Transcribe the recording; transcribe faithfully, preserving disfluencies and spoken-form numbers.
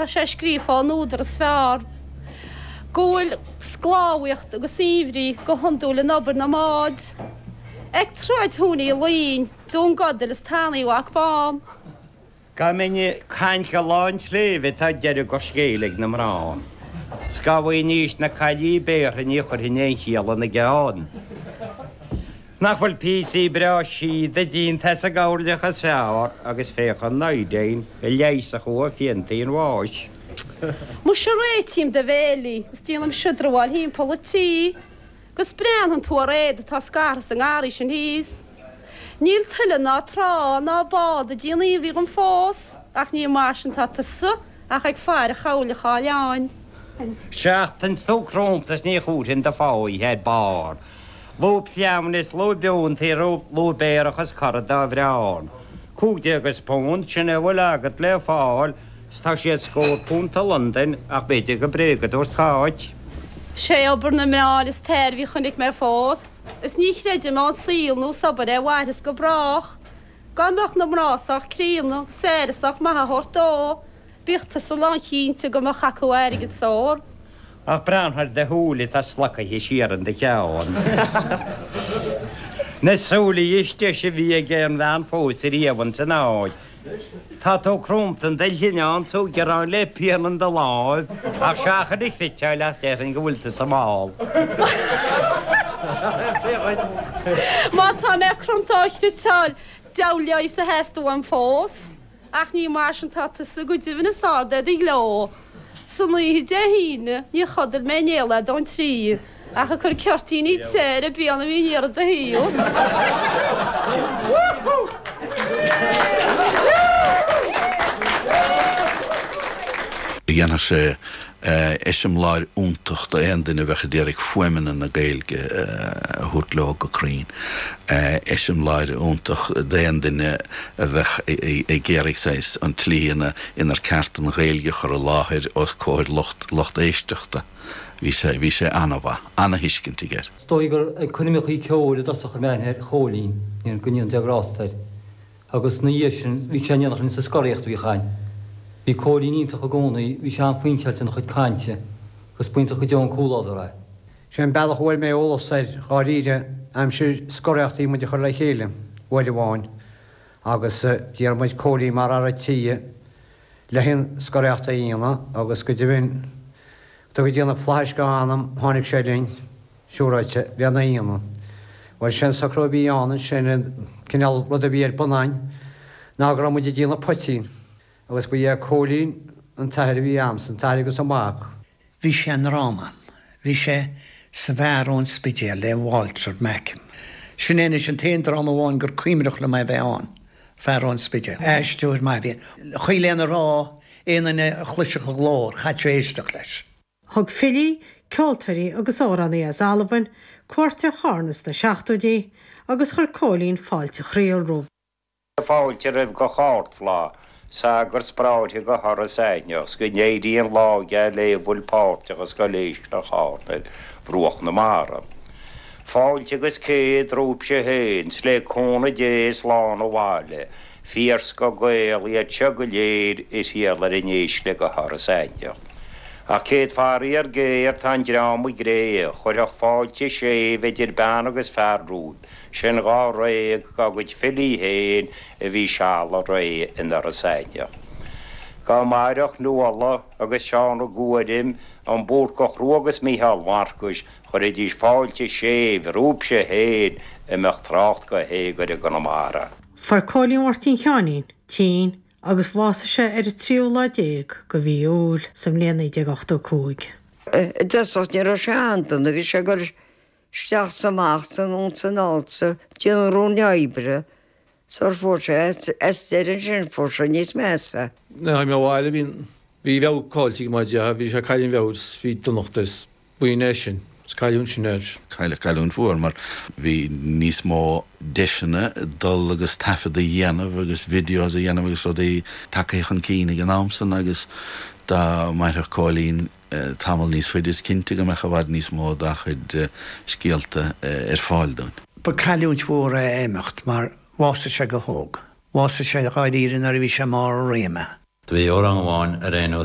Tá sé scríofa ón údar is fearr go bhfuil sclábhaíocht agus saibhrí go hiondúil in obair na mbád. Ag troid Thónaí Luín, Dún Godail is Tanaí Mhac Bán. Dá mbeinn ag caint go lá an tsléibhe tá deireadh go scéal ag na mná. 'S dá bhfaighinnís na caillí béartha ní chuirfinn aon chiall ina gceann. Nach bhfuil píosaí breá síoda déanta as an gcoirleach is fearr agus féach an iodine a leigheasfadh thú ó phiantaí an bháis. Muise réitím do bhéilí is déanaim siodramháil thimpeall an tí 'gus breathnaíonn tú ar éad atá scartha sa ngarraí sin thíos. Níl tuile ná trá ná bád ag déanamh aoibhinn dhom fós ach ní mar sin tá tusa ach ag faire chailleach oileáin. Seachtain 's tú cromta 's ní thabharfainn do pháighe ar barr. Lúb shleamhain is lúb fhiúntaí lúb aerach is cara dá bhreán. Cúig déag is punt, sin é a bhfuil agat le fáil, 's tá siad scór punt i Londain ach b'fhéidir gur bréag a dúirt Cáit. Sé obair na mná is tairbhí a chonaic mé fós, is ní chreidim ón saol nó is obair é a mhairfeas go brách. Dá mbeadh na mná sách críonna agus aire sách maith á thabhairt dó, bíodh tusa lánchinnte go mbeadh acu airgead is ór. Ach breathnaigh ar do shúile atá slocaithe siar in do cheann. Na súile is deise a bhí ag aon bhean phósta riamh ins an áit. Tá tú cromta in do shlinneán 's tú ag gearán le pian in do láimh, ach seachain a chriotáil ach déarfainn go bhfuil tusa mall. Má tá mé cromta á chriotáil, deabhal leigheas a theastaigh uaim fós. Ach ní mar sin tá tusa go deimhin is ard é do ghleo. San oíche Dé hAoine níor chodail mé in aon leath don trí, ach ag cur ceirtíní te ar an bpian a bhí in iarraidh do thaobh. Dhéanfadh sé eiseamláir iontach d'aon duine a bheadh ag iarraidh fuaimeanna na Gaeilge a thabhairt leo go cruinn, eiseamláir iontach d'aon duine a bheadh ag iarraidh saghas an tslí inar ceart an Ghaeilge a chur i láthair os comhair lucht lucht éisteachta. Bhí sé bhí sé an-mhaith, an-thuiscint aige air. Is dóigh gur ag coirmeachaí ceoil i dtosach a chuir mé aithne ar Chóilín, go ndéana Dia grásta air. Agus ina dhiaidh sin, bhí sé in éineacht linn sa scoraíocht a bhíodh againn. Bhí Cóilín iontach i gcónaí, bhí sé an-phointeáilte ina chuid cainte, agus b'iontach go deo an comhluadar é. Sé an bealach a bhfuair mé eolas air dháiríre, aimsir scoraíochta bhí muid a chur le chéile uair amháin agus d'iarr muid Cóilín mar fhear a' tí le haon scoraíocht a dhéanamh agus go deimhin, go dtuga Dia na flaithis dá anam, tháinig sé linn. Siúráilte, lena aíonna. Bhuel, sé an socrú a bhí ann ansin, an cineál rud a bhí ar bun a'inn, ná go raibh muid ag déanamh poitín, agus ba é Cóilín an t-athair a bhí a'msa, an t-athair agus an mac. Bhí sé i ndráma a'm. Bhí sé sa bhFear ón Spidéal le Walter Macken. Sin é anois an t-aon dráma amháin gur cuimhneach liom é bheith ann, Fear ón Spidéal. Aisteoir maith a bhí ann. Chuí lena rá, aon duine a chloisfeadh a ghlór, chaithfeadh sé éisteacht leis. Thug filí, ceoltóirí agus amhránaithe as Albain cuairt ar Chárna sna seachtóidí agus chuir Cóilín fáilte chroíúil rompu. Fáilte roimh gach ardfhlaith, sagart 's bráithre go hIorras Aithneach, 's go n-éirí an lá geal lé a bhfuil páirteach i Scoil Éiscreach Chárna ar bhruach na mara. Fáilte agus céad romhaibhse féin, 's le cúnamh Dé slán abhaile, Fíorscoth Gael iad seo go léir a thriall ar an éisc go hIorras Aithneach. Ach céad faraor géar tá an dream i gcré, chuirfeadh fáilte séimh idir bean agus fear romhaibh, sin dháréag dá gcuid filí féin a bhí seal a ré in Iorras Aithneach. Dá mairfeadh Nuala agus Seán Ó Guairim, an Búrcach Rua agus Mícheál Mharcais, chuirfidís fáilte séimh romhaibhse féin a mbeadh trácht go héag air i gConamara. Fuair Cóilín Mháirtín Sheáinín tinn agus bhásaigh sé ar an tríú lá déag de mhí Iúil sa mbliain naoi déag ochtó cúig. I dtosach ní raibh sé an-dona, bhí sé ag dul isteach 's amach 's anonn 's anall 's ag déanamh ruainne oibre sar fuair sé as deireadh ansin fuair sé níos measa. Nuair a tháinig mé abhaile bhí bhí a mheabhair caillte aige mar dhea, bhí sé ag cailleadh a mheabhair 's bhí donacht air 's b'in é sin. Is cailliúint sin air. Cailleadh cailliúint mhór mar bhí níos mó deiseanna dul agus taifead a dhéanamh agus videos a dhéanamh agus rudaí tagtha chun cinn ag an am san agus dá mairfeadh Cóilín tamall níos faide is cinnte go mbeadh i bhfad níos mó dá chuid scéalta ar fáil dúinn. Ba cailliúint mhór é a imeacht mar bhásaigh sé go hóg. Bhásaigh sé dháiríre nuair a bhí sé i mbarr a réime. Do bhí amhrán amháin ar aon nós.